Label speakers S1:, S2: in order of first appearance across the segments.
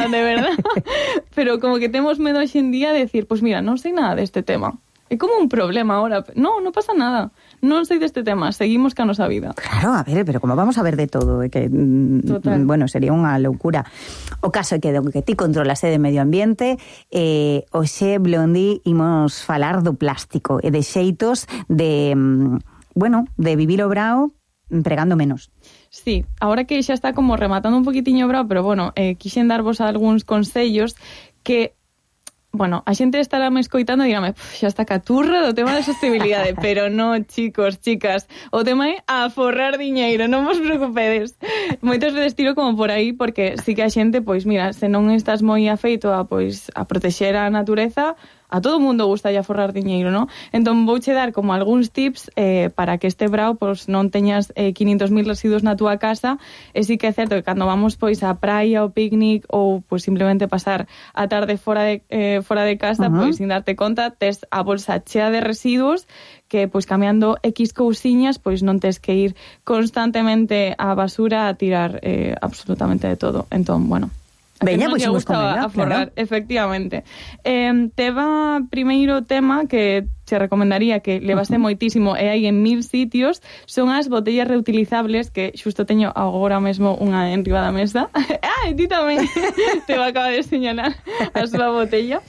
S1: nada, de verdad. Pero como que temos medo hoxe en día de decir, pues mira, non sei nada deste tema. É como un problema ahora. No pasa nada. Non sei deste tema, seguimos ca nosa vida.
S2: Claro, a ver, pero como vamos a ver de todo, que bueno, sería unha loucura. O caso é que ti controlas de medio ambiente, hoxe, Blondi, imos falar do plástico e de xeitos de, de vivir o brao empregando menos.
S1: Sí, ahora que xa está como rematando un poquitiño o brao, pero bueno, quixen darvos algúns consellos que... Bueno, a xente estará me escoitando e dirame, xa está caturra do tema da sostenibilidade, pero non, chicos, chicas, o tema é aforrar diñeiro, non vos preocupedes. Moitas veces tiro como por aí, porque sí que a xente, pois mira, se non estás moi afeito a protexer a natureza, a todo mundo gusta aforrar diñeiro, non? Entón vouche dar como algúns tips para que este brao pois non teñas 500.000 residuos na túa casa, e sí que é certo que cando vamos pois á praia, ao picnic ou pois simplemente pasar a tarde fora de casa, pois sin darte conta, tes a bolsa chea de residuos que pois cambiando X cousiñas, pois non tes que ir constantemente á basura a tirar absolutamente de todo. Entón, bueno,
S2: veña, pois imos con
S1: ela, aforrar, claro. Efectivamente. Teva primeiro tema que te recomendaría que levase moitísimo e hai en 1000 sitios, son as botellas reutilizables, que xusto teño agora mesmo unha enriba da mesa. E ti tamén te va acaba de señalar a súa botella,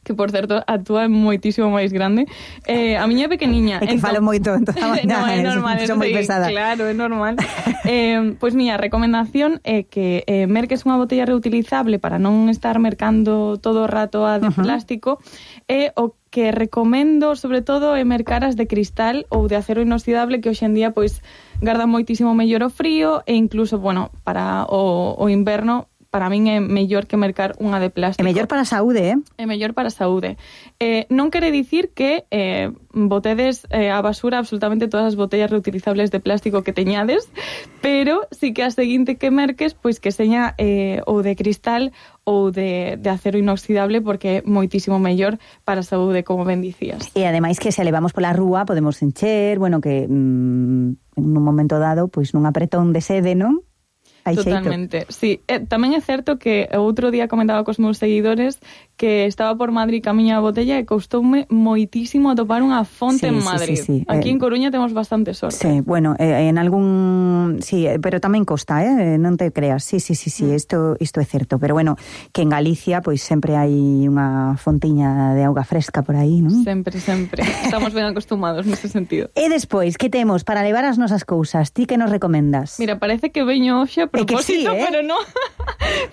S1: que por certo a túa é moitísimo máis grande. A miña é pequeniña.
S2: É que falo moito en toda a mañana.
S1: No, é normal,
S2: son moi pesada.
S1: Claro, é normal. Pois miña recomendación é que merques unha botella reutilizable para non estar mercando todo o rato a de plástico, e o que recomendo sobre todo é mercar as de cristal ou de acero inoxidable, que hoxe en día pois garda moitísimo mellor o frío, e incluso, bueno, para o inverno para min é mellor que mercar unha de plástico.
S2: É mellor para a saúde,
S1: É mellor para a saúde. Non quere dicir que botedes a basura absolutamente todas as botellas reutilizables de plástico que teñades, pero sí que a seguinte que merques, pois que seña ou de cristal ou de acero inoxidable, porque é moitísimo mellor para a saúde, como ben dicías.
S2: E ademais que se levamos pola rúa podemos encher, bueno, que en un momento dado, pois nun apretón de sede, non?
S1: Totalmente, sí. Tamén é certo que outro día comentaba cos meus seguidores que estaba por Madrid camiña a botella e coustoume moitísimo atopar unha fonte en Madrid. Sí. Aquí en Coruña temos bastante sorte.
S2: Sí, bueno, en algún... Sí, pero tamén costa, non te creas. Sí, isto é certo. Pero bueno, que en Galicia pois sempre hai unha fontiña de auga fresca por aí, non?
S1: Sempre. Estamos ben acostumados nese sentido.
S2: E despois, que temos para levar as nosas cousas? Ti que nos recomendas?
S1: Mira, parece que veño hoxe a propósito, sí, pero non.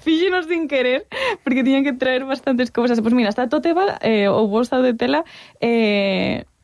S1: Fíxenos sin querer, porque tiñan que traer bastantes cousas. Pois mira, está tote bag ou bolsa de tela,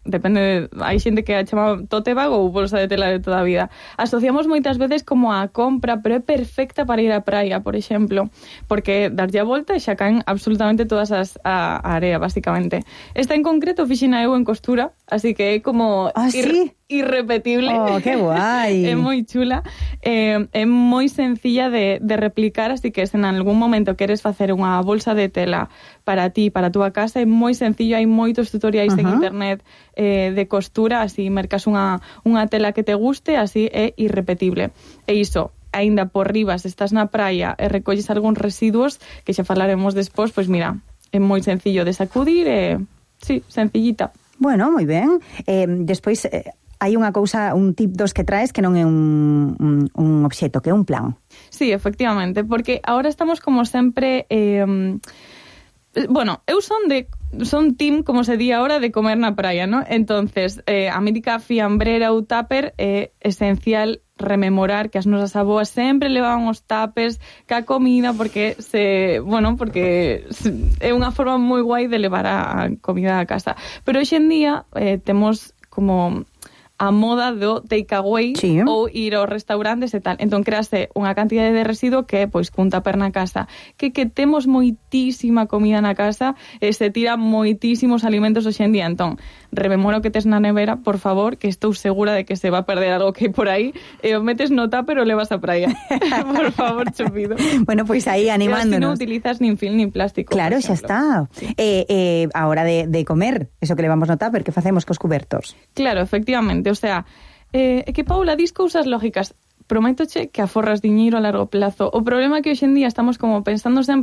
S1: depende, hai xente que a chama tote bag ou bolsa de tela de toda a vida. Asociamos moitas veces como a compra, pero é perfecta para ir á praia, por exemplo, porque darlle a volta e xa caen absolutamente todas a area, basicamente. Esta en concreto fixina eu en costura, así que é como...
S2: ¿sí?
S1: Irrepetible.
S2: Oh, que guai.
S1: É moi chula, é moi sencilla de replicar, así que se en algún momento queres facer unha bolsa de tela para ti, para a túa casa, é moi sencillo, hai moitos tutoriais en internet de costura, así mercas unha tela que te guste, así é irrepetible. E iso, aínda por riba, se estás na praia e recolles algúns residuos, que xa falaremos despois, pois mira, é moi sencillo de sacudir, sí, sencillita.
S2: Bueno, moi ben. Despois... hai unha cousa, un tip dos que traes que non é un obxeto, que é un plan.
S1: Sí, efectivamente, porque ahora estamos como sempre... bueno, eu son team, como se di ahora, de comer na praia, ¿no? Entonces, a mítica fiambrera ou tupper é esencial rememorar que as nosas aboas sempre levaban os tuppers ca comida, porque é unha forma moi guai de levar a comida a casa. Pero hoxe en día temos como... a moda do takeaway, sí, ou ir aos restaurantes e tal. Entón, crease unha cantidade de residuo que é, pois, cun tupper na casa. Que temos moitísima comida na casa e se tira moitísimos alimentos hoxe en día. Entón, rememora o que tes na nevera, por favor, que estou segura de que se va a perder algo que hai por aí, e o metes no tupper ou levas a praia. Por favor, cho pido.
S2: Bueno, pois aí animándonos.
S1: Pero non utilizas nin film nin plástico.
S2: Claro, xa está. Sí. A hora de comer, eso que levamos no tupper, que facemos cos cubertos?
S1: Claro, efectivamente. O sea, que Paula, dis cousas lógicas. Prométoche que aforras diñeiro a largo plazo. O problema é que hoxe en día estamos como pensando sempre